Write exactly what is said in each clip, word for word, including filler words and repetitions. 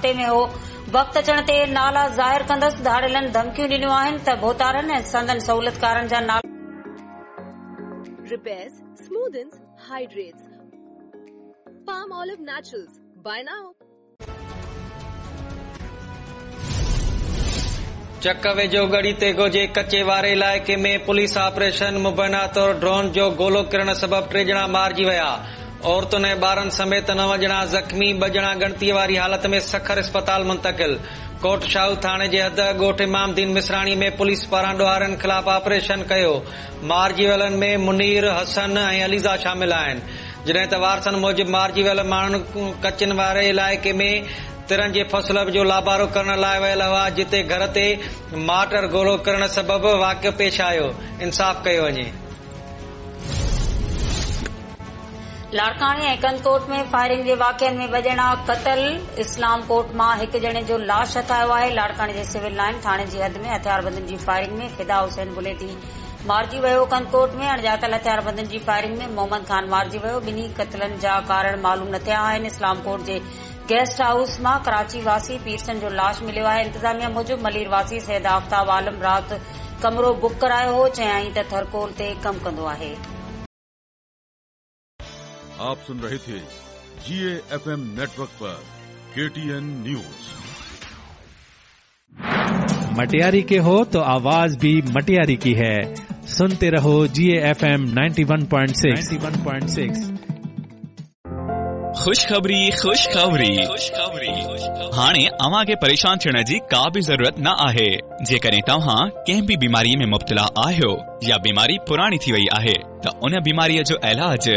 ۾ هو. وقت اچڻ تي نالا ظاهر ڪندس. ڌاڙيلن ڌمڪيون ڏنيون آهن ته ڀوتارن ۽ سندن سهولتڪارن جا نالا Repairs, smoothens, hydrates. Palmolive Naturals. Buy now. چڪ ويجهو ڳڙهي تيغو جي ڪچي واري علائقي ۾ پوليس آپريشن مبينا طور ڊرون جو گولو ڪرڻ سبب ٽي ڄڻا مارجي ويا. عورتن ۽ ٻارن سميت نو ڄڻا زخمي، ٻه ڄڻا ڳڻتيءَ واري حالت ۾ سکر اسپتال منتقل. ڪوٽ شاهو ٿاڻي جي حد ڳوٺ امام دين مصراڻي ۾ پوليس پاران ڏوهارين خلاف آپريشن ڪيو. مارجي ويلن ۾ منير، حسن ۽ عليزا شامل آهن. جڏهن ته وارثن موجب مارجي ويل ماڻهن ڪچن واري علائقي ۾ ترن جي فصل جو لابارو ڪرڻ لاءِ ويل هئا، جتي گهر تي مارٽر گولو ڪرڻ سبب واقعو پيش آيو. انصاف ڪيو وڃي. لاڙڪاڻي ۽ ڪنڌڪوٽ ۾ فائرنگ جي واقعن ۾ ٻه ڄڻا قتل. اسلام ڪوٽ مان هڪ ڄڻي جو لاش هٿ آيو آهي. لاڙڪاڻي جي سول لائن ٿاڻي جي حد ۾ هٿياربندن جي فائرنگ ۾ فدا حسين بليدي مارجي ويو. ڪنڌڪوٽ ۾ اڻڄاتل هٿياربندن جي فائرنگ ۾ محمد خان مارجي ويو. ٻنهي قتلن جا ڪارڻ معلوم نه ٿيا آهن. اسلام ڪوٽ جي گيسٽ هائوس مان ڪراچي واسي پيرسن جو لاش مليو آهي. انتظاميا موجب ملير واسي سيد آفتاب عالم رات ڪمرو بڪ ڪرايو هو. چيائين ته ٿرڪول تي ڪم ڪندو آهي. आप सुन रहे थे जी एफ एम नेटवर्क पर के टी एन न्यूज। मटियारी के हो तो आवाज भी मटियारी की है। सुनते रहो G F M ninety one point six. Ninety one point six. खुशखबरी खुशखबरी खुशखबरी। हाणे अव्हां खे परेशान थियण जी का बि ज़रूरत न आहे। जेकॾहिं तव्हां कंहिं बि बीमारीअ में मुब्तला आहियो या बीमारी पुराणी थी वई आहे त उन बीमारीअ जो इलाज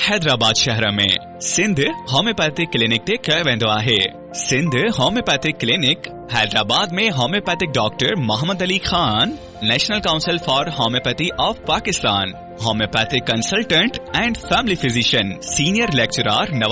हैदराबाद शहर में सिंध होम्योपैथिक क्लिनिक ते कयो वेंदो आहे। सिंध homeopathic clinic Hyderabad में homeopathic doctor Mohammad Ali Khan, National Council for Homeopathy of Pakistan, homeopathic consultant and family physician, senior lecturer Nawaz